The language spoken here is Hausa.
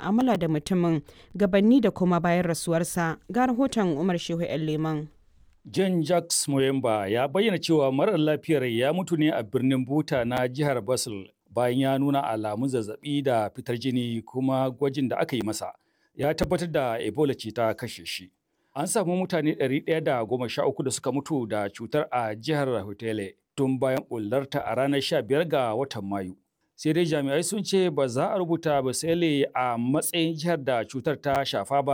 mu'amala da mutumin gabanni da kuma bayan rasuwarsa. Ga rahoton Umar Shehu 'yan Leman. John Jacques Moyemba ya bayyana cewa marar lafiyar ya mutu ne a birnin Buta na jihar Basel bayan ya nuna alamun zazzabi da fitar jini, kuma gwajin da aka yi masa ya tabbatar da Ebola ce ta kashe shi. An samu mutane 113 da suka mutu da cutar a jihar Hotele tun bayan bullarta a ranar 15 ga watan Mayu. Sai dai jami'ai sun ce ba za a rubuta Basele a matsayin jihar da cutar ta shafa ba.